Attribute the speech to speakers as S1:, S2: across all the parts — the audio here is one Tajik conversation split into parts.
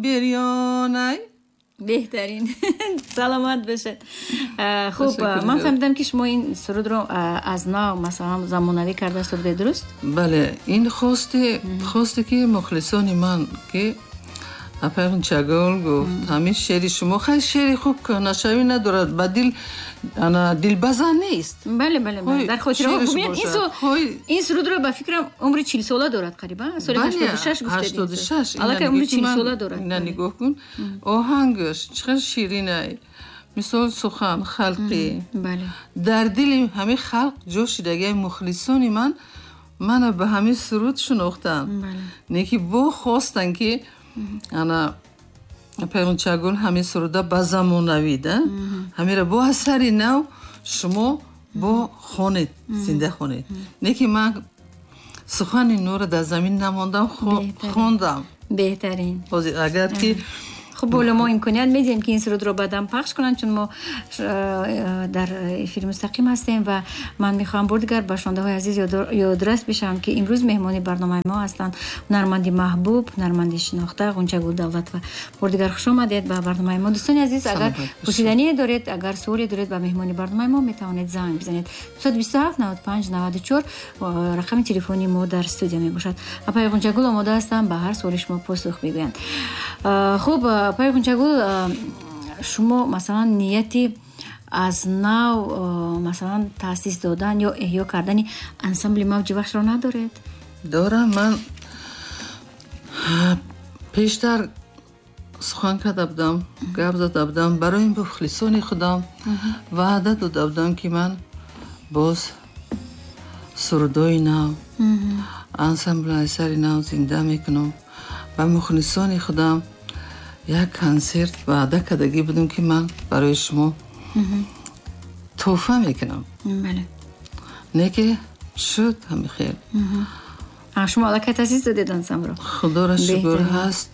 S1: Бирёнай.
S2: Беҳтарин, саломат бошед. Хуб, ман фаҳмидам, ки шумо ин сурудро аз нав, масалан, замонавӣ карда сурудед, дуруст?
S1: Бале, ин хосте, ки мухлисони ман, ки апай Ғунчагул гуфт, ҳамин шеъри шумо хеле шеъри хуб, кӯҳнашавӣ надорад, ба дил ана дилбазан нест.
S2: Бале, дар хотираҳо. Бубинед, ин сурудро, ба фикрам, умри 40сола дорад қариб, соли 86 гуфтед.
S1: 86.
S2: Аллакай умри 40сола дорад.
S1: Ина нигоҳ кун, оҳангаш чӣ қадр ширинай, мисол, сухан халқӣ дар дили ҳамин халқ ҷо шидагиай. Мухлисони ман мана ба ҳамин суруд шинохтанд, не ки бо хостанд, ки ана апай Ғунчагул, ҳамин суруда ба замонавӣ да, ҳамира бо асари нав шумо бо хонед, зинда хонед. Не ки ман сухани нура дар замин намондам, хондам.
S2: Беҳтарин.
S1: Ҳозир агар ки
S2: Хуб, боло мо имконият медиҳем, ки ин сурудро баъдан пахш кунанд, чун мо дар эфири мустақим ҳастем. Ва ман мехоҳам бор дигар ба шунавандаҳои азиз ёдрас бишавам, ки имрӯз меҳмони барномаи мо ҳастанд ҳунарманди маҳбуб, ҳунарманди шинохта Ғунчагул Давлатова. Бор дигар хуш омадед ба барномаи мо. Дӯстони азиз, агар пурсидание доред, агар суоле доред ба меҳмони барномаи мо, метавонед занг бизанед. 227 95 94 рақами телефони мо дар студия мебошад. Апаи Ғунчагул омода ҳастанд ба ҳар суоли шумо посух бигӯянд. Хуб, апаи Ғунчагул, шумо, масалан, нияти аз нав, масалан, таъсис додан ё эҳё кардани ансамбли «Мавҷи Вахшро» надоред?
S1: Дорам. Ман пештар сухан карда будам, гап зада будам, барои мухлисони худам ваъда дода будам, ки ман боз сурудои нав, ансамбл асари нав зинда мекунам. Ба мухлисони худам як консерт ваъда кардагӣ будам, ки ман барои шумо тӯҳфа мекунам. Не ки шуд ҳами хел.
S2: Шумо аллакай таъсис додед ансамблро?
S1: Худоро шукр, ҳаст,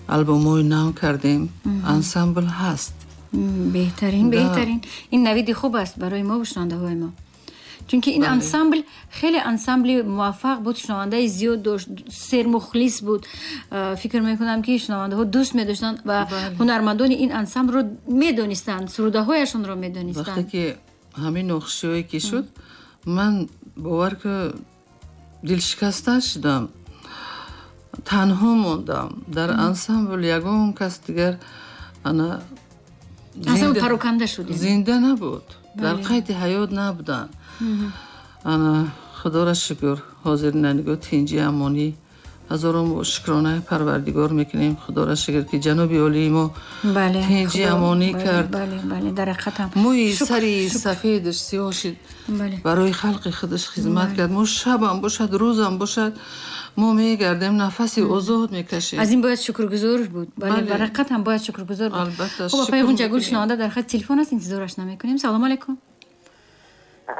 S1: албомҳои нав кардем, ансамбл ҳаст.
S2: Беҳтарин, беҳтарин. Ин навиди хуб аст барои мо, шунавандаҳои мо, чунки ин ансамбл хеле ансамбли муваффақ буд, шунавандаи зиёд дошт, сермухлис буд. Фикр мекунам, ки шунавандаҳо дӯст медоштанд ва ҳунармандони ин ансамблро медонистанд, сурудаҳояшонро медонистанд.
S1: Вақте ки ҳамин нохушиҳое ки шуд, ман, бовар ки, дилшикаста шудам, танҳо мондам дар ансамбл, ягон кас дигар ана
S2: пароканда шуд.
S1: Зинда набуд, дар қайди ҳаёт набуданд. Ана худоро шукр, ҳозир нанигоҳ, тинҷи, амонӣ, ҳазорон шукронаи Парвардигор мекунем. Худоро шукр, ки ҷаноби олии мо тинҷи, амонӣ кард. Мӯи сари сафедаш сиёҳ шид, барои халқи худаш хизмат кард. Мо шабам бошад, рӯзам бошад, мо мегардем, нафаси озод мекашем.
S2: Аз ин бояд шукргузор буд. Бале, бар ҳақиқат ҳам бояд шукргузор буд.
S1: Албатта.
S2: Хуб, апаи Ғунчагул, шунаванда дар хати телефон аст, интизораш намекунем. Салому алайкум.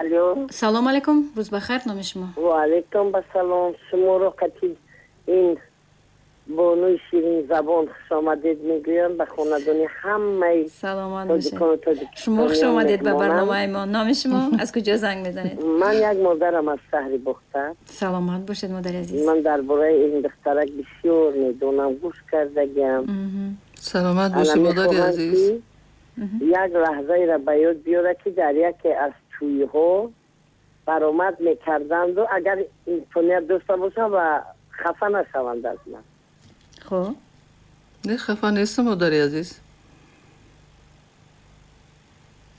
S3: Алло.
S2: Салому алайкум, рӯз бахайр, номи шумо?
S3: Ва алайкум басалом. Шуморо қати ин бонуи ширинзабон хушомадед мегӯям, ба хонадони ҳамаи
S2: Саломат бошед, шумо хуш омадед ба барномаи мо. Номи шумо, аз куҷо занг мезанед?
S3: Ман як модарам аз шаҳри Бохтар.
S2: Саломат бошед, модари азиз.
S3: Ман дар бораи ин духтарак бисёр медонам, гӯш кардагиам.
S1: Саломат бошед, модари азиз.
S3: Як лаҳзаеро ба ёд биёра, ки дар яке аз тӯйҳо баромад мекарданду, агар имконият дошта бошам ва хафа нашаванд аз ман.
S2: Хуб.
S1: Не, хафа нестам, модари азиз.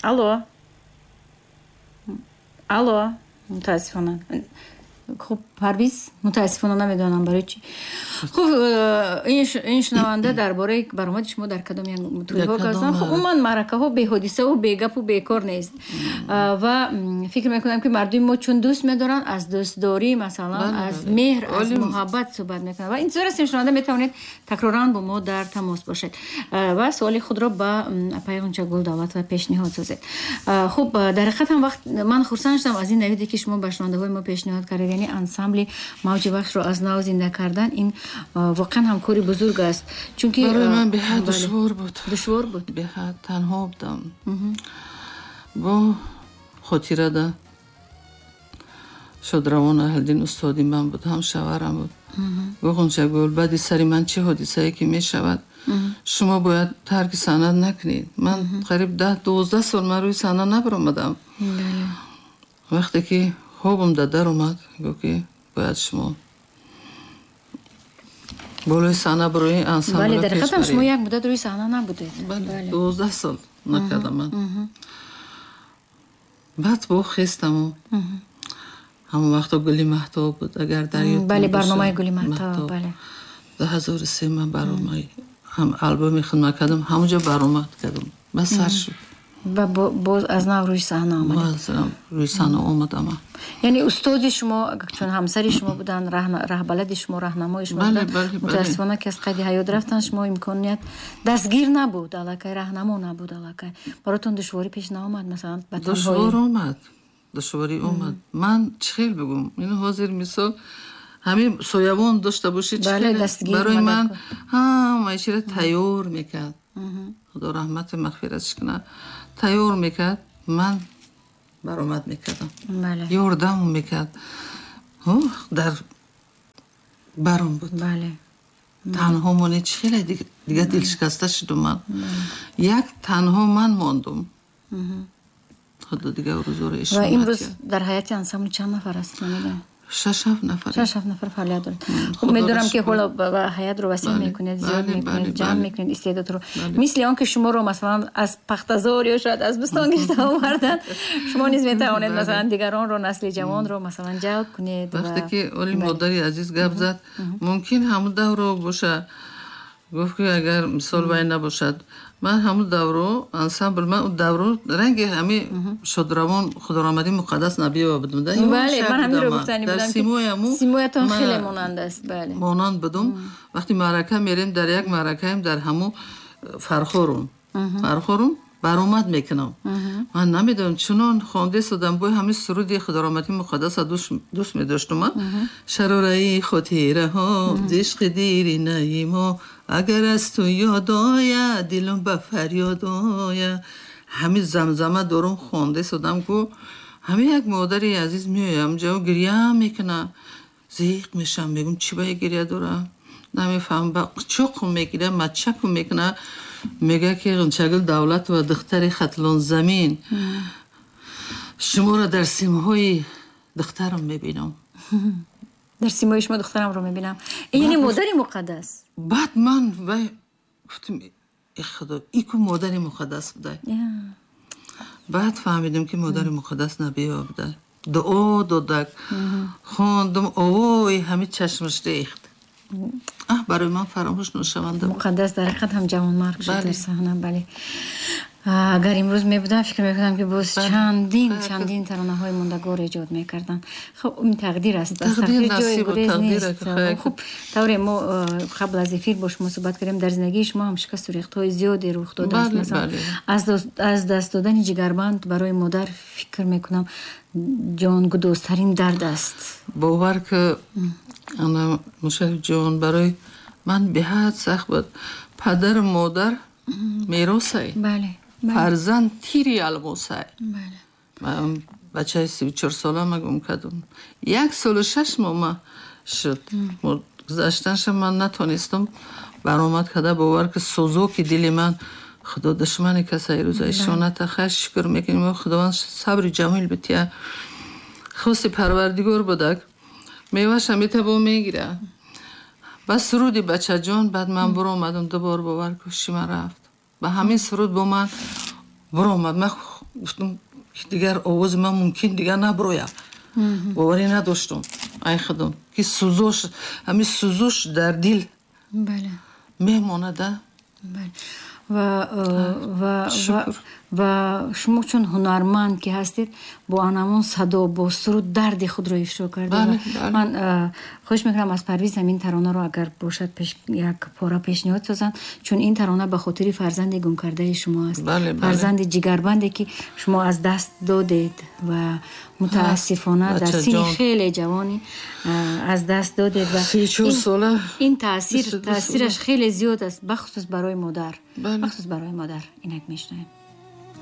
S2: Алло, алло, мутаассифона. Хуб, Парвиз, мутаассифона намедонам барои чӣ. Хуб, ин шунаванда дар бораи баромади шумо дар кадом як тӯйҳо гап. Хуб, умуман маъракаҳо беҳодисаву бегапу бекор нест ва фикр мекунам, ки мардуми мо чун дӯст медоранд, аз дӯстдорӣ, масалан, аз меҳр, аз муҳаббат суҳбат мекунанд ва интизор ҳастем. Шунаванда, метавонед такроран бо мо дар тамос бошед ва суоли худро ба апаи Ғунчагул Давлатова пешниҳод созед. Хуб, дар ҳақиқат ҳам вақт ман хурсанд шудам аз ин навиде, ки шумо ба шунавандаҳои мо пешниҳод кардед, яъне ансамбли «Мавҷи Вахшро» аз нав зинда кардан. Ин воқеан ҳам кори бузург аст, чунки
S1: Барои ман беҳад душвор буд.
S2: Душвор буд.
S1: Беҳад танҳо будам. Бо хотирада шодравон Аҳлиддин устоди ман буд, ҳам шаварам буд. Гуфт Ғунчагул, баъди сари ман чӣ ҳодисае ки мешавад, шумо бояд тарки санъат накунед. Ман қариб 10-12 сол ман рӯи саҳна набаромадам. Вақте ки хобам дар омад, гуфт ки бояд шумо болои саҳна барои ансамбл.
S2: Бале, дар ҳақиқат шумо як муддат рӯи саҳна набудед.
S1: Бале, 12 сол накардам ман. Баъд бо хестаму ҳамон вақто Гули Маҳтоб буд, агар дар ёд.
S2: Бале, барномаи Гули Маҳтоб, бале.
S1: 2003 ман барномаи ҳам албоми хидмат кардам, ҳамонҷо баромад кардам. Бас сар шуд.
S2: Ва боз аз нав рӯи саҳна омадед.
S1: Рӯи саҳна омадам.
S2: Яъне устоди шумо, чун ҳамсари шумо буданд, раҳбалади шумо, раҳнамои шумо буданд, мутаассифона ки аз қайди ҳаёт рафтанд, шумо имконият дастгир набуд, аллакай раҳнамо набуд, аллакай. Баротон душворӣ пеш наомад, масалан, ба танҳоӣ?
S1: Душвор омад. Душворӣ омад. Ман чӣ хел бигӯм? Ин ҳозир мисол ҳамин соявон дошта бошӣ, чӣ барои ман ҳамаи чиро тайёр мекард. Худо раҳмати мағфиратш кунад. Тайёр мекард, ман баромад мекардам. Ёрдам мекард. Дар баром буд. Танҳо моне чӣ хеле дига дилшикаста шудум ман. Як танҳо ман мондум. Худо дига рӯзоро
S2: ишора. Ва имрӯз дар ҳайати ансамбл чанд нафар аст? Намедонам.
S1: 6-7 нафар.
S2: 6-7 нафар фаъолият дорад. Хуб, медонам ки ҳоло ҳаятро васеъ мекунед, зиёд мекунед, ҷамъ мекунед истеъдодро. Мисли он ки шуморо масалан аз Пахтазор ё шояд аз Бӯстон гирифта оварданд, шумо низ метавонед масалан дигаронро, насли ҷавонро масалан ҷалб кунед.
S1: Вақте ки оли модари азиз гап зад, мумкин ҳамун давро боша. Гуфт ки агар мисол вай набошад, ман ҳамун давро ансамбл, ман он давро ранги ҳами шодравон Худорамадӣ Муқаддас Набиева будум.
S2: Бале, ман ҳаминро гуфтани будам.
S1: Дар симояму
S2: симоятон хеле монанд аст. Бале,
S1: монанд будум. Вақти маърака мерем, дар як маъракаем дар ҳамун Фархорум баромад мекунам. Ман намедонам, чунон хонда истодам, бо ҳамин суруди Худорамадӣ Муқаддаса дӯст медоштум ман. Шарораи хотираҳо, ишқи диринаи мо, агар аз ту ёд ояд, дилам ба фарёд ояд. Ҳамин замзама дорум хонда истодам, ку ҳамин як модари азиз меоям ҷо гиря мекуна. Зиқ мешам, мегум чӣ ба гиря дорам? Намефаҳмам, ба чоқум мегиря, мачакум мекуна. Мега ки Ғунчагул Давлатова, духтари Хатлон замин, шуморо дар симҳои духтарам мебинам.
S2: Дар симои шумо духтарамро мебинам. Яъне модари муқаддас.
S1: Баъд ман вай гуфтам, э худо, ин ку модари муқаддас буда. Баъд фаҳмидам ки модари муқаддас Набиева буда. Дуо додак, хондум, овои ҳамин чашмаш рехт. Барои ман фаромӯш нашаванда.
S2: Муқаддас дар ҳақиқат ҳам ҷавонмарг шуд дар саҳна. Бале, агар имрӯз мебудам, фикр мекардам ки боз чандин таронаҳои мондагор эҷод мекарданд. Хуб, ин тақдир аст, тақдир ҷои гурез нест. Хуб, тавре мо қабл аз эфир бо шумо суҳбат кардем, дар зиндагии шумо ҳам шикасту рехтҳои зиёде рух додааст. Масалан, аз даст додани ҷигарбанд барои модар фикр мекунам ҷонгудозтарин дард аст.
S1: Бовар ки ана Мушарраф ҷон, барои ман беҳад сахт буд. Падару модар меросай, фарзанд тири алмосай. Ман бачаи 34 сола ма гум кардум. 1 солу 6 моҳ ма шуд. Гузаштанша ман натонистам баромад карда. Бовар ки сӯзоки дили ман, худо душмани касай рӯзаи шоната хайр шукр мекунем, худованд сабри ҷамил бития. Хости парвардигор будак, меваша метабо мегира. Ба суруди бачаҷон баъд ман буромадам дубор, бовар куши ман рафт. Ба ҳамин суруд бо ман буромад. Ман гуфтам дигар овози ман мумкин дигар набурояд. Боварӣ надоштам ай худом ки сӯзош, ҳамин сӯзош дар дил мемонада.
S2: Ва шумо чун ҳунарманд ки ҳастед, бо анамон садо, бо суруд дарди худро ифшо кардед. Ман хоҳиш мекунам аз Парвиз ҳамин таронаро агар бошад як пора пешниҳод созанд, чун ин тарона ба хотири фарзанди гумкардаи шумо аст, фарзанди ҷигарбанде ки шумо аз даст додед ва мутаассифона дар синни хеле ҷавонӣ аз даст додед. Ва ин таъсираш хеле зиёд аст, бахусус барои модар, бахусус барои модар. Инак мешунавем.